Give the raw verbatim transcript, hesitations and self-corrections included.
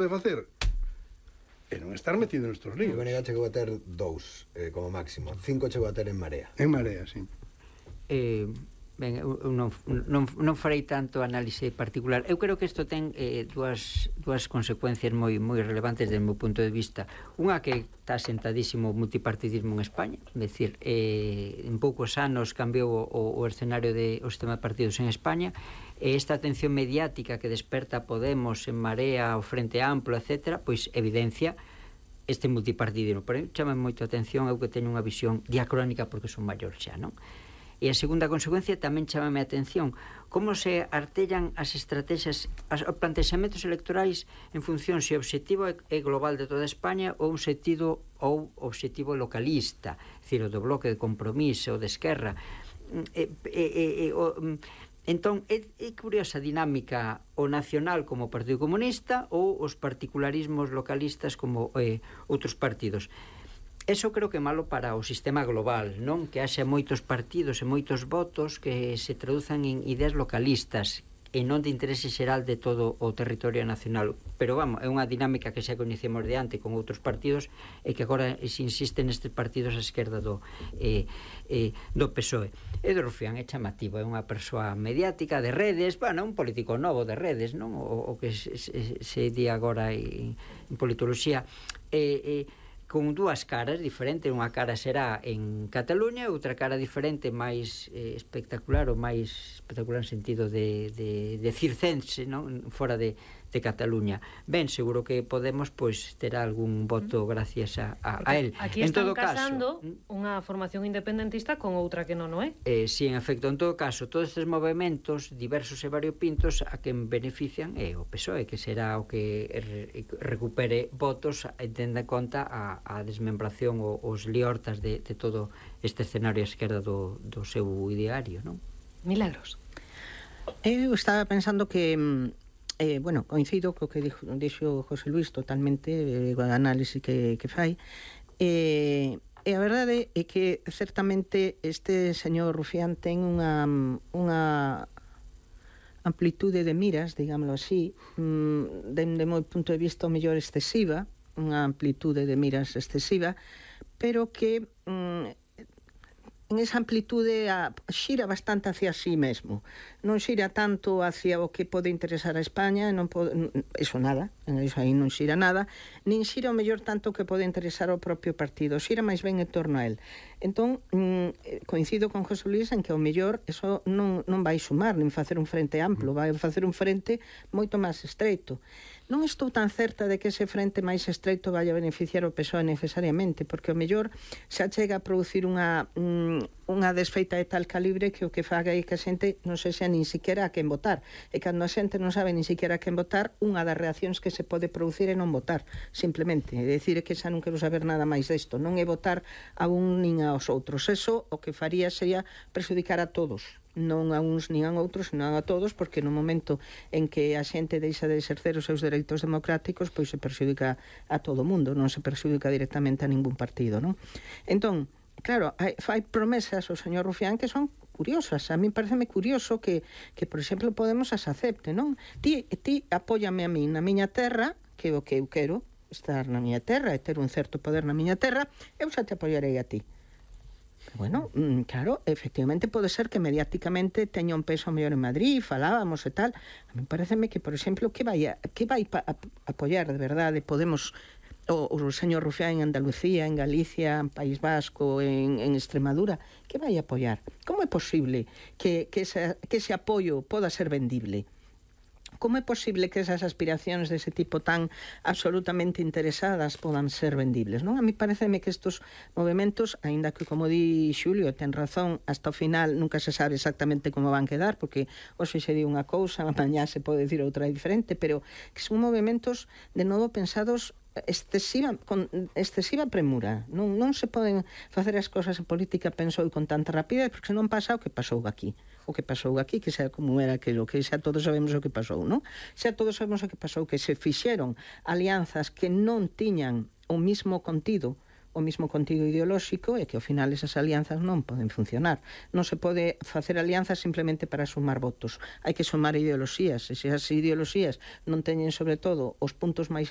de facer e non estar metido nestes líos. O B N G chegou a ter dous, eh, como máximo. Cinco chegou a ter en Marea. En Marea, sí. Eh, ben, eu non, non, non farei tanto análise particular. Eu creo que isto ten eh, dúas, dúas consecuencias moi moi relevantes desde o meu punto de vista. Unha que está sentadísimo o multipartidismo en España, é dicir, eh, en poucos anos cambiou o, o escenario de o sistema de partidos en España, e esta atención mediática que desperta Podemos, en Marea, o Frente Amplo, etcétera, pois evidencia este multipartidismo. Pero chama moito a atención, eu que teño unha visión diacrónica porque son maior xa, non? E a segunda consecuencia tamén chamame a atención como se artellan as estrategias, os plantexamentos electorais en función se o objetivo é global de toda España ou un sentido ou objetivo localista, é dicir, o do bloque de Compromiso ou de Esquerra. E, e, e, o, entón, é, é curiosa a dinámica o nacional como o Partido Comunista ou os particularismos localistas como eh, outros partidos. Eso creo que é malo para o sistema global, non? Que haxa moitos partidos e moitos votos que se traduzan en ideas localistas e non de interese xeral de todo o territorio nacional. Pero, vamos, é unha dinámica que xa coñecemos de antes con outros partidos e que agora se insiste nestes partidos a esquerda do, eh, eh, do P S O E. Edo Rufián é chamativo, é unha persoa mediática de redes, bueno, un político novo de redes, non? O, o que se, se, se di agora en, en politoloxía. E... Eh, eh, con dúas caras diferentes, unha cara será en Cataluña, outra cara diferente, máis eh, espectacular ou máis espectacular en sentido de, de, de circense, non? Fora de, de Cataluña. Ben, seguro que Podemos pois terá algún voto gracias a, a, a él. Aquí en están todo casando caso, unha formación independentista con outra que non o é. Eh, si, en efecto, en todo caso, todos estes movimentos diversos e variopintos a quen benefician é o P S O E, que será o que re, recupere votos e tenda en conta a a desmembración, os liortas de, de todo este escenario a esquerda do, do seu ideario, non? Milagros. Eu estaba pensando que eh, bueno, coincido co que dixo, dixo José Luis totalmente, eh, o análise que, que fai, eh, e a verdade é que certamente este señor Rufián ten unha unha amplitude de miras, digámoslo así, dende o meu punto de vista o mellor excesiva, unha amplitude de miras excesiva, pero que mm, en esa amplitude a, xira bastante hacia sí mesmo, non xira tanto hacia o que pode interesar a España, non pode, eso nada, eso aí non xira nada, nin xira o mellor tanto que pode interesar ao propio partido, xira máis ben en torno a él. Entón, mm, coincido con José Luis en que o mellor eso non, non vai sumar, nin facer un frente amplo, vai facer un frente moito máis estreito. Non estou tan certa de que ese frente máis estreito vai a beneficiar o P S O E necesariamente, porque o mellor xa chega a producir unha, unha desfeita de tal calibre que o que faga é que a xente non se xa nin siquiera a quen votar. E cando a xente non sabe nin siquiera a quen votar, unha das reaccións que se pode producir é non votar, simplemente. É dicir que xa non quero saber nada máis desto, non é votar a un nin aos outros. Eso o que faría sería perjudicar a todos, non a uns nin a outros, senón a todos, porque no momento en que a xente deixa de exercer os seus dereitos democráticos, pois se perxudica a todo o mundo, non se perxudica directamente a ningún partido, non? Entón, claro, hai, fai promesas o señor Rufián que son curiosas. A mí pareceme curioso que, que por exemplo, Podemos as acepte, non? Ti, ti apóyame a mí na miña terra, que é o que eu quero, estar na miña terra e ter un certo poder na miña terra, eu xa te apoiarei a ti. Bueno, claro, efectivamente pode ser que mediáticamente teña un peso mellor en Madrid, falábamos e tal. A mí pareceme que, por exemplo, que vai a, que vai a, a apoiar de verdade Podemos o, o señor Rufián en Andalucía, en Galicia, en País Vasco, en, en Extremadura, que vai a apoiar? Como é posible que, que, ese, que ese apoio poda ser vendible? Como é posible que esas aspiracións dese tipo tan absolutamente interesadas podan ser vendibles, non? A mí pareceme que estos movimentos, aínda que, como di Xulio, ten razón, hasta o final nunca se sabe exactamente como van quedar, porque hoxe se di unha cousa, mañá se pode dicir outra diferente, pero que son movimentos, de novo, pensados excesiva, con excesiva premura. Non, non se poden facer as cousas en política, penso, con tanta rapidez, porque non pasa o que pasou aquí. O que pasou aquí, que xa como era aquilo, que xa todos sabemos o que pasou, non? Xa todos sabemos o que pasou, que se fixeron alianzas que non tiñan o mismo contido, o mismo contido ideolóxico, e que ao final esas alianzas non poden funcionar. Non se pode facer alianzas simplemente para sumar votos. Hai que sumar ideoloxías, e se as ideoloxías non teñen, sobre todo, os puntos máis